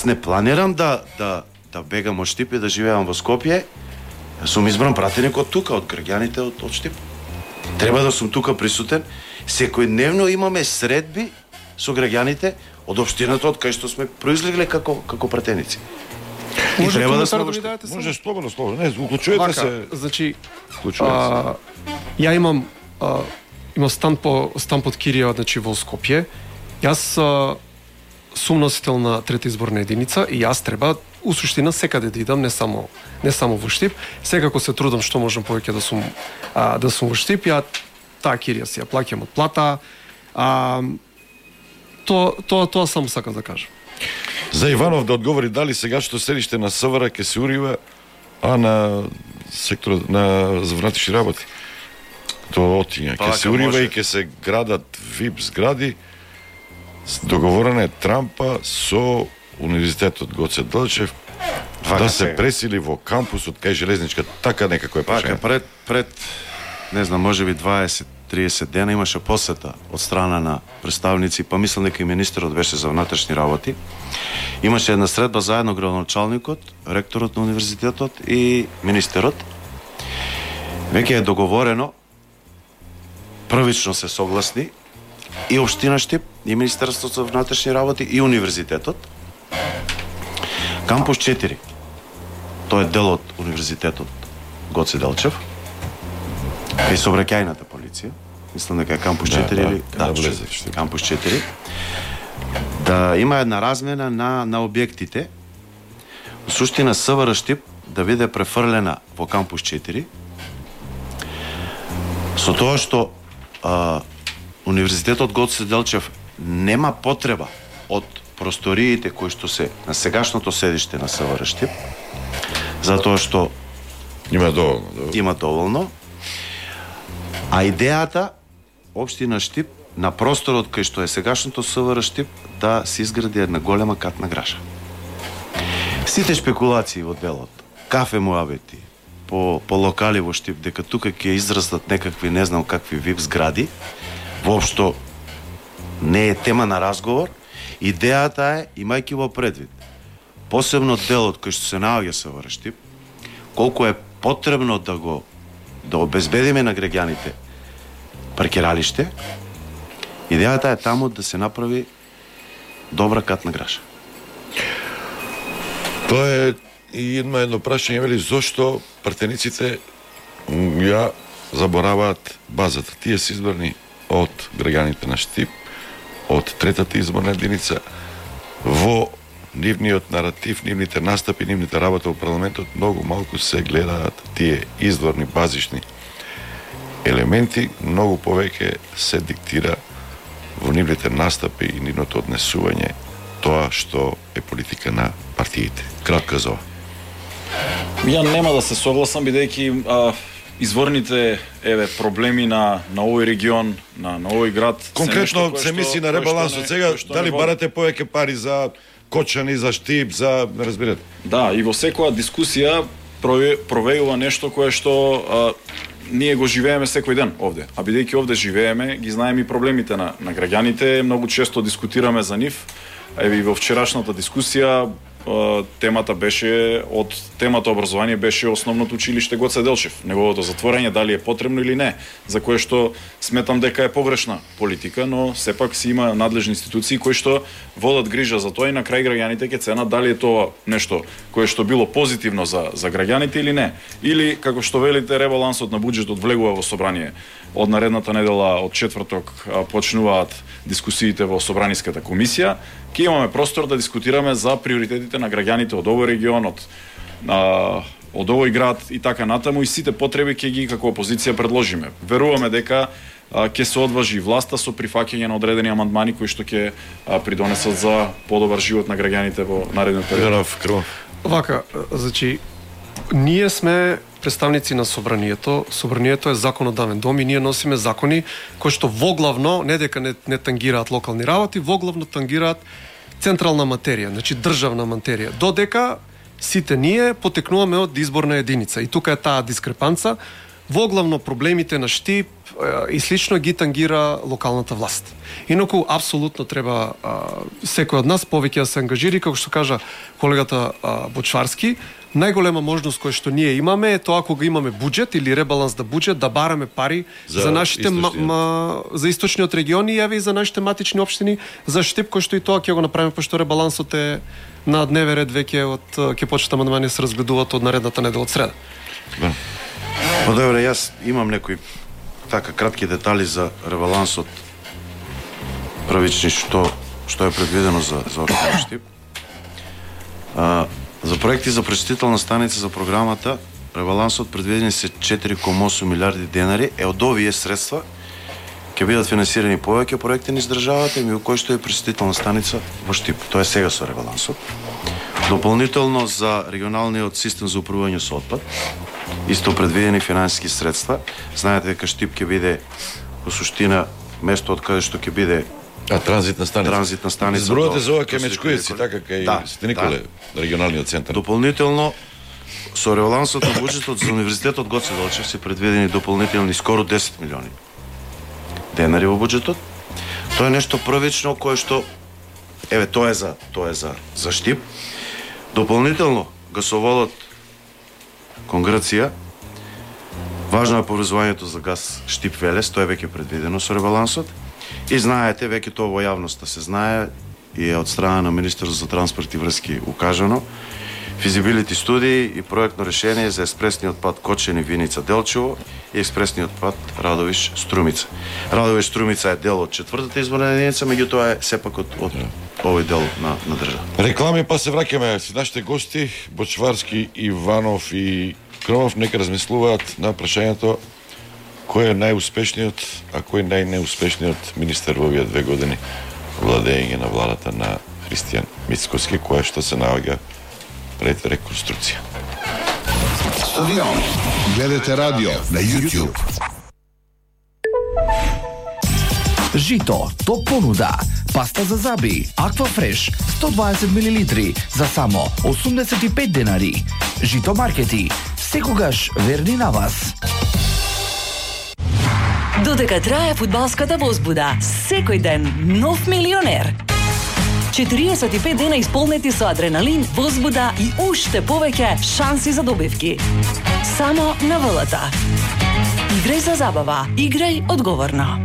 Не планирам да бегам од Штип и да живеам во Скопје. Сум избран пратеник од тука, од граѓаните од Штип. Треба да сум тука присутен. Секојдневно имаме средби со граѓаните од општината од кај што сме произлегле како пратеници. Може треба да да ми дадете само? Може слободно. Не, уклучувате се. Значи, ја имам стан под Кирија, значи во Скопје. Јас сум носител на трета изборна единица и јас треба у суштина секаде да идам, не само во Штип. Секако се трудам што можам повеќе да сум во Штип. Ја таа Кирија си ја плаќам од плата. Тоа само сакам да кажам. За Иванов да одговори дали сегашното седиште на СВР ќе се урива, а на секторот на внатрешни работи тоа отиња. Ќе се урива и ќе се градат ВИП згради. Договорена е трампа со Универзитетот Гоце Делчев да се пресили во кампусот кај железничка, така некако е прашање. Пред не знам, можеби 20-30 дена имаше посета од страна на представници, па мислам дека и министерот беше за внатрешни работи. Имаше една средба заедно градоначалникот, ректорот на универзитетот и министерот. Веќе е договорено, првично се согласни и општина Штип, и Министерството за внатрешни работи, и универзитетот. Кампус 4. Тој е дел од универзитетот Гоце Делчев. И сообраќајната полиција. Мислам дека е кампус 4 или кампус 4. Да има една размена на објектите. Во суштина СВР Штип да биде префрлена во кампус 4. Со тоа што Универзитетот Гоце Делчев нема потреба од просториите кои што се на сегашното седиште на СВР Штип, затоа што има доволно. А идејата општина Штип на просторот кај што е сегашното СВР Штип да се изгради една голема катна граша. Сите шпекулации во делот, кафе муабети, по локали во Штип, дека тука ќе израстат некакви, не знам какви ВИП згради, воопшто не е тема на разговор. Идејата е, имајќи во предвид, посебно делот кој што се наоѓа СВР Штип, колку е потребно да обезбедиме на граѓаните паркиралиште, идејата е таму да се направи добра катна граша. Тоа е и едно прашање, вели, зошто пратениците ја забораваат базата. Тие се избрани од граѓаните на Штип, од третата изборна единица, во нивниот наратив, нивните настапи, нивните работа во парламентот, многу малку се гледаат тие изворни, базични елементи, многу повеќе се диктира во нивните настапи и нивното однесување тоа што е политика на партиите. Кратко за ова. Ја нема да се согласам, бидејќи изворните проблеми на овој регион, на овој град. Конкретно се мисли на ребалансот сега, дали барате повеќе пари за Кочани, за Штип, за не разбирате. Да, и во секоја дискусија провејува нешто кое што ние го живееме секој ден овде. А бидејќи овде живееме, ги знаеме и проблемите на граѓаните, многу често дискутираме за нив. Еве и во вчерашната дискусија темата образование беше основното училиште Гоце Делчев. Неговото затворање дали е потребно или не, за кое што сметам дека е погрешна политика, но сепак си има надлежни институции кои што водат грижа за тоа и на крај граѓаните ќе ценат дали е тоа нешто кое што било позитивно за граѓаните или не. Или како што велите, ребалансот на буџетот влегува во собрание. Од наредната недела, од четврток, почнуваат дискусиите во Собраниската комисија. Ке имаме простор да дискутираме за приоритетите на граѓаните од овој регион, од овој град и така натаму, и сите потреби ќе ги како опозиција предложиме. Веруваме дека ќе се одважи власта со прифаќање на одредени амандмани кои што ќе придонесат за подобар живот на граѓаните во нареден период. Вака, значи, ние сме представници на собранието. Собранието е законодавен дом и ние носиме закони кои што воглавно, не дека не тангираат локални работи, воглавно тангираат централна материја, значи државна материја. Додека сите ние потекнуваме од изборна единица. И тука е таа дискрепанца. Воглавно проблемите на Штип, и слично ги тангира локалната власт. Инаку апсолутно треба секој од нас повеќе да се ангажира, како што кажа колегата Бочварски. Најголема можност која што ние имаме е тоа кога имаме буџет или ребаланс да буџет, да бараме пари за нашите за источниот регион и еве и за нашите матични општини за Штип, кој што и тоа ќе го направиме, пошто ребалансот е на дневен ред веќе ќе почнат амандмани да се разгледуваат од наредната недела од среда. Па добре, јас имам некои така кратки детали за ребалансот правични што е предвидено за општина Штип. За проекти за пречистителна станица за програмата, ребалансот предвидени се 4,8 милиарди денари, од овие средства ќе бидат финансирани повеќе проекти низ државата, меѓу кои што е пречистителна станица во Штип. Тоа е сега со ребалансот. Дополнително за регионалниот систем за управување со отпад, исто предвидени финансиски средства. Знаете дека Штип ќе биде во суштина место од каде што ќе биде транзитна станица. Зборувате за ова кај Мечкујеци, така кај Свети Николе, регионалниот центар. Дополнително со ребалансот на буџетот за универзитетот Гоце Делчев се предвидени дополнителни скоро 10 милиони денари во буџетот. Тоа е нешто првично кое што тоа е за Штип. Дополнително гасоводот кон Грција, важно е поврзувањето за газ Штип-Велес, тоа е веќе предвидено со ребалансот. И знаете, веќе тоа во јавноста се знае и е од страна на Министерството за транспорт и врски укажано. Физибилити студии и проектно решение за експресниот пат Кочени Виница Делчево и експресниот пат Радовиш Струмица. Радовиш Струмица е дел од 4-та изборна единица, меѓутоа е сепак од овој дел на држава. Реклами, па се враќаме со нашите гости Бочварски, Иванов и Кромов, нека размислуваат на прашањето кој е најуспешниот, а кој најнеуспешниот министер во овие 2 години владење на владата на Христијан Мицкоски, која што се наоѓа пред реконструкција. Стадион. Гледате радио на YouTube. Жито, топ понуда. Паста за заби, Аква Фреш, 120 мл за само 85 денари. Жито маркети, секогаш верни на вас. Додека трае фудбалската возбуда, секој ден нов милионер. 45 дена исполнети со адреналин, возбуда и уште повеќе шанси за добивки. Само на ВЛТ. Играј за забава, играј одговорно.